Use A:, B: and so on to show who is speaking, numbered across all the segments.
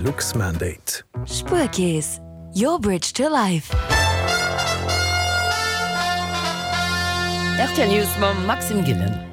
A: Luxmandate.
B: Spuerkeess, your bridge to life.
C: Rtl News mam Maxime Gillen.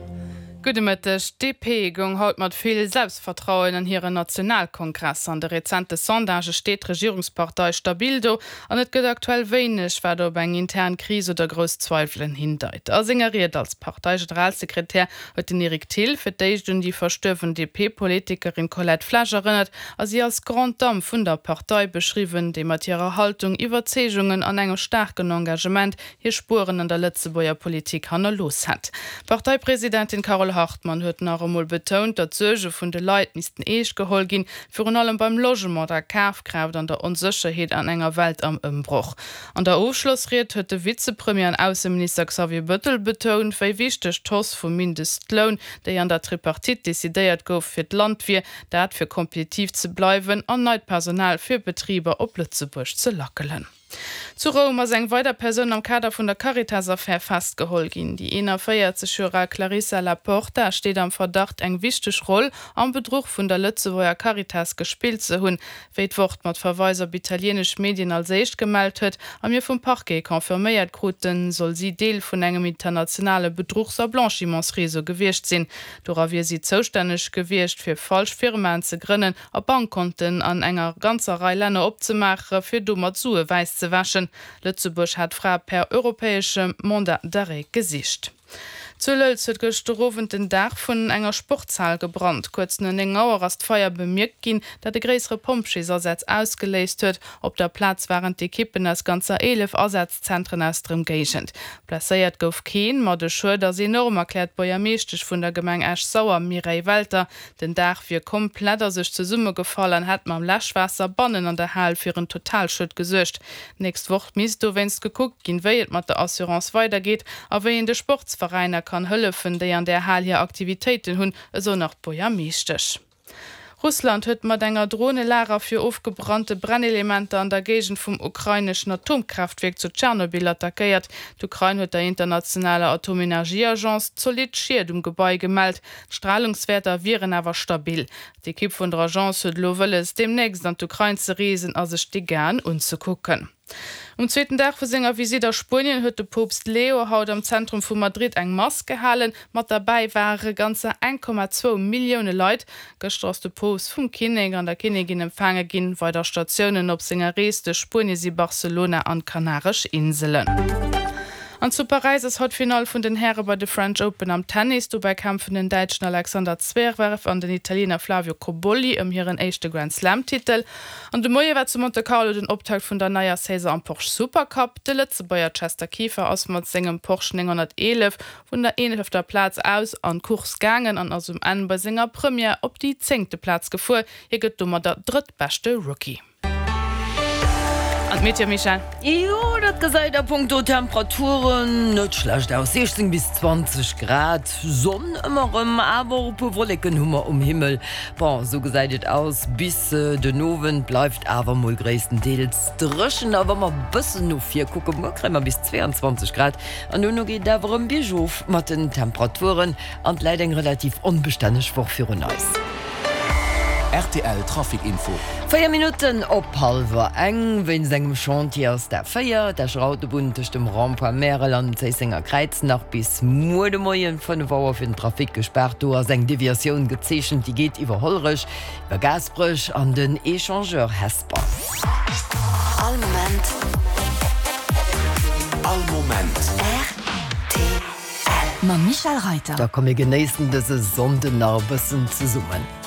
D: Gudde Mëtteg. D'DP goung haut mat vill Selbstvertrauen an hiren Nationalkongress. An de rezente Sondagë steet d'Regierungspartei stabil do an et gëtt aktuell wéineg, wat op eng intern Kris oder grouss Zweiwelen hindeit. A senger Ried als Parteigeneralsekretär huet den Eric Thill fir d'éischt un déi verstuerwen DP-Politikerin Colette Flesch erënnert a si als Grande Dame vun der Partei beschriwwen, déi mat hirer Haltung, Iwwerzeegungen an engem staarken Engagement hir Spueren an der Lëtzebuerger Politik hannerlooss hätt. D'Parteipresidentin Carole Hartmann huet nach emol betount, datt d'Suerge vun de Leit missten eescht geholl ginn, virun allem beim Logement, der Kafkraaft an der Onsécherheet an enger Welt am Ëmbroch. An der Ofschlossried huet de Vizepremier an Ausseminister Xavier Bëttel betount, wéi wichteg d'Hausse vum Mindestloun, déi an der Tripartite decidéiert gouf, fir d'Land wier, dat fir kompetitiv ze bleiwen an neit Personal fir Betriber op Lëtzebuerg ze lackelen. Zu Roum ass eng weider Persoun am Kader vun der Caritas-Affär festgeholl ginn. Déi 41 Joer al Clarissa La Porta steet am Verdacht, eng wichteg Roll am Bedruch vun der Lëtzebuerger Caritas gespillt ze hunn. Wéi d'Wort mat Verweis op italienesch Medien als éischt gemellt huet a mir vum Parquet confirméiert kruten, soll si Deel vun engem internationale Bedruchs a Blanchimentsreseau gewiescht sinn. Dora wier si zoustänneg gewiescht, fir falsch Firmaen ze grënnen a Bankkonten an enger ganzer Rei Länner opzemaache fir domat Sue wäiss ze wäschen. Lëtzebuerg hat d'Fra per europäeschem Mandat d'arrêt gesicht. Zu Lëlz huet gëschter Owend den Daach vun enger Sportshal gebrannt. Kuerz no 9 Auer ass d'Feier bemierkt ginn, dat e gréissere Pompjeesasaz ausgeléist huet. Op der Plaz waren d'Ekippen aus ganzer 11 Asazzentren aus der Ëmgéigend. Blesséiert gouf keen, ma de Schued ass enorm, erkläert d'Buergermeeschtesch vun der Gemeng Esch-Sauer, Mireille Welter. Den Daach wier komplett a sech zesummegefall an hätt mam Läschwaasser bannen an der Hal fir en Totalschued gesuergt. D'nächst Woch misst dowéinst gekuckt ginn, wéi et mat der Assurance weidergeet a wéi een de Sportsveräiner kann hëllefen, déi an där Hal hir Aktivitéiten hunn, esou nach d'Buergermeeschtesch. Russland huet mat enger Dron e Lager fir ofgebrannte Brennelementer an der Géigend vum ukraineschen Atomkraaftwierk zu Tschernobyl attackéiert. D'Ukrain huet der internationaler Atomenergieagence zolidd Schied um Gebai gemellt. D'Stralungswäerter wieren awer stabil. D'Ekipp vun der Agence huet elo wëlles, deemnächst an d'Ukrain ze reesen a sech d'Dégâten unzekucken. Um zweeten Dag vu senger Visitt a Spuenien huet de Poopst Leo haut am Zentrum vu Madrid eng Mass gehalen. Mat derbäi ware ganzer 1,2 Millioune Leit. Gëschter ass de Poopst vum Kinnek an der Kinnigin empfaange ginn. Weider Statiounen op senger Rees duerch Spuenie si Barcelona an d'Kanaresch Inselen. An zu Paräis ass haut d'Finall vun den Häre bei de French Open am Tennis. Dobäi kämpfen den Däitschen Alexander Zverev an den Italiener Flavio Cobolli ëm hiren éischte Grand-Slam-Titel. An de Moie war zu Monte Carlo den Optakt vun der neier Saison am Porsche Supercup. De Lëtzebuerger Chester Kieffer ass mat sengem Porsche 911 vun der eelefter Plaz aus an d'Course gaangen an ass um Enn bei senger Première op déi zéngte Plaz gefuer. Hie gëtt domadder drëttbeschte Rookie. An d'Meteo, Michèle?
C: Jo, dat gesäit a punkto Temperaturen net schlecht aus, 16 bis 20 Grad, Sonn ëmmer erëm, awer och e puer Wolleken hu mer um Himmel. Bon, esou gesäit et aus bis den Owend, bleift awer mol gréisstendeels dréchen. A wa mer e bëssen no vir kucken, muer kréie mer bis 22 Grad an dono geet et awer erëm biergof mat den Temperaturen an et läit eng relativ onbestänneg Woch virun eis.
A: Rtl Trafic Info.
C: 4 Minutten op hallwer eng. Wéinst engem Chantier ass d'A4, d'Escher Autobunn tëscht dem Rond-point Märel an dem Zéissenger Kräiz nach bis muer de Moien 5 Auer fir den Trafic gespaart. Do ass eng Deviatioun gezeechent, déi geet iwwer Hollerech, iwwer Gaasperech an den Echangeur Hesper.
B: All Moment.
A: All Moment.
B: Rtl. Mam Michèle Reyter.
C: Da komm mir genéissen dëse Sonnden nach e bëssen zesummen.